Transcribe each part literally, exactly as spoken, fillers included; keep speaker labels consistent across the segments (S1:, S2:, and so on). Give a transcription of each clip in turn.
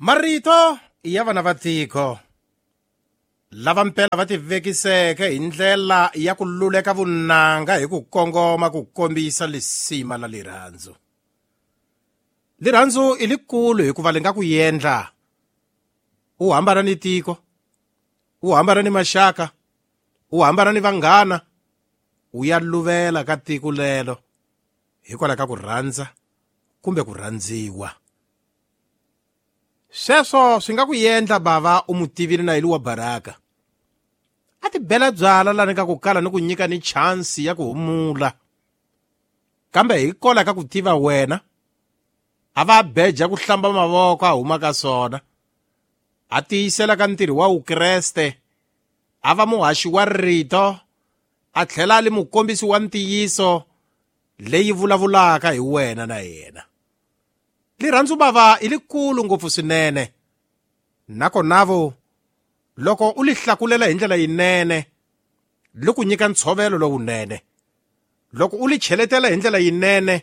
S1: Marito ya vana va tiko lava mpela va tivekiseke hi ndlela ya ku luleka vunanga hi ku kongoma ku kombisa lisima la lirhandzu. Lirhandzu i likulu hikuva li nga ku endla u hambana ni tiko, u hambana ni maxaka, u hambana ni vanghana, u ya luvela ka tiko lelo hikwalaho ka ku rhandza kumbe ku rhandziwa. Sweswo swi nga ku endla bava u mu tivile na yili wa baraka. A ti bela byala lani ka ku kala ni ku nyika ni chance ya ku humula. Kambe hikola ka ku tiva wena, a va beja ku hlamba mavoko a huma ka swona. A tiyisela ka ntirho wa Vukreste, a va muhaxi wa rito, a tlhela a li mukombisi wa ntiyiso leyi vulavulaka hi wena na yena. Lirhandzu bava i likulu ngopfu swinene. Nakona vo loko u li hlakulela hi ndlela yinene, li ku nyika ntshovelo lowunene. Loko u li cheletela hi ndlela yinene,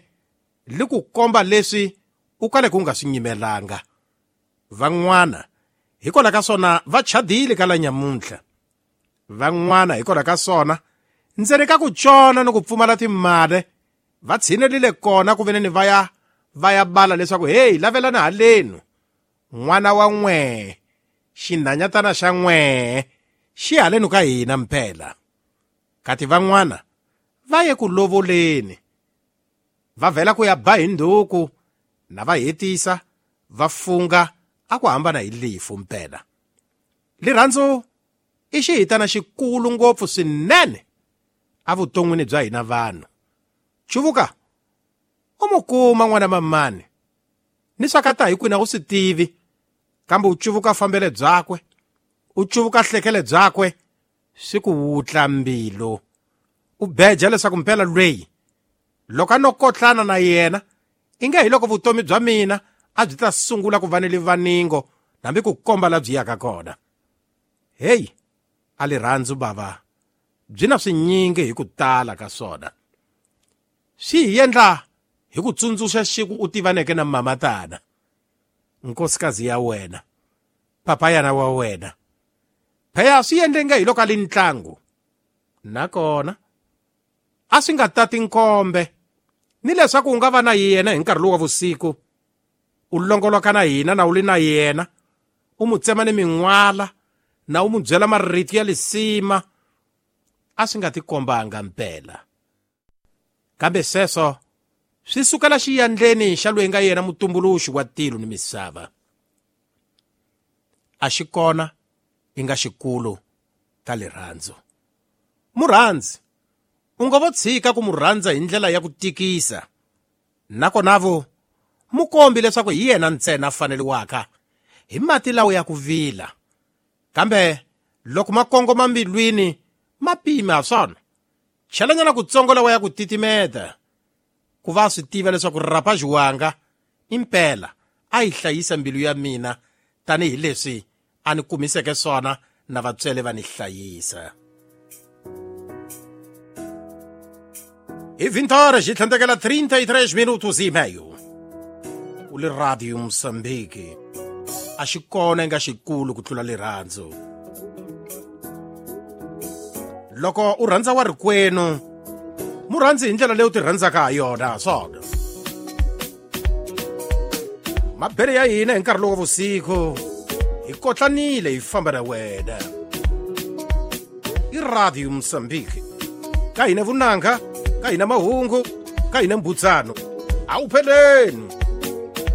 S1: li ku komba leswi u kaleke u nga swi nyimelanga. Van'wana hikwalaho ka swona va chadile ka la nyamuntlha. Van'wana hikwalaho ka swona ndzeni ka ku tshona ni ku pfumala timali va tshinelile kona ku veneni va ya va ya bala leswaku hey, lavelana halenu n'wana wa n'we, xinhanyatana xa n'we xi halenu ka hina mpela. Kati van'wana va ye ku lovoleni, va vhela ku ya ba hi nduku na va hetisa va funga a ku hambana hi lifu mpela. Lirhandzu i xihitana xikulu ngopfu swinene evuton'wini bya hina vanhu. Chuvuka u mu kuma n'wana mamani ni swa ka ta hi kwini a wu swi tivi, kambe u cuvuka fambele byakwe, u cuvuka hlekele byakwe, swi ku wutla mbilu. U beja leswaku mpela lweyi loko a no kotlana na yena i nge hi loko vutomi bya mina a byi ta sungula ku va ni livaningo hambi ku komba la byi yaka kona. Heyi, a lirhandzu bava byi na swinyingi hi ku tala ka swona. Swi hi endla hi ku tsundzuxa xiku u tivaneke na mamatana, nkosikazi ya wena, papayana wa wena. Phela swi endle nge hi loko a li ntlangu. Nakona a swi nga tati nkombe ni leswaku u nga va na yena hi nkarhi lowu wa vusiku, u longoloka na hina na u li na yena, u mu tsema ni min'wala na u mu byela marito ya lisima, a swi nga tikombanga mpela. Kambe sweswo swi sukela xiyandleni xa loyi nga yena mutumbuluxi wa tilo ni misava. A xi kona i nga xikulu ka lirhandzu. Murhandzi u nga vo tshika ku mu rhandza hi ndlela ya ku tikisa. Nakona vo mu kombi leswaku hi yena ntsena a faneliwaka hi mati lawa ya ku vila. Kambe loko ma kongoma mbilwini ma pima swona, chelanyana kutsongo lawa ya ku titimeta, ku va swi tiva leswaku rapa xiwanga impela a yi hlayisa mbilu ya mina tanihileswi a ni kumiseke swona na vatswele va ni hlayisa. Hi vinte horas e tlhandlekela trinta e três minutos e meio. U le Radio Moçambique. A xi kona nga xikulu ku tlula lirhandzu. Loko u rhandza wa rikwenu, mu rhandzi hi ndlela leyi u ti rhandzaka ha yona swona. Mabele ya hina hi nkarhi lowu wa vusiku hi kotlanile hi famba na wena. I Radio Moçambique. Ka hina vunanga, ka hina mahungu, ka hina mbudzano. A wu pheleni.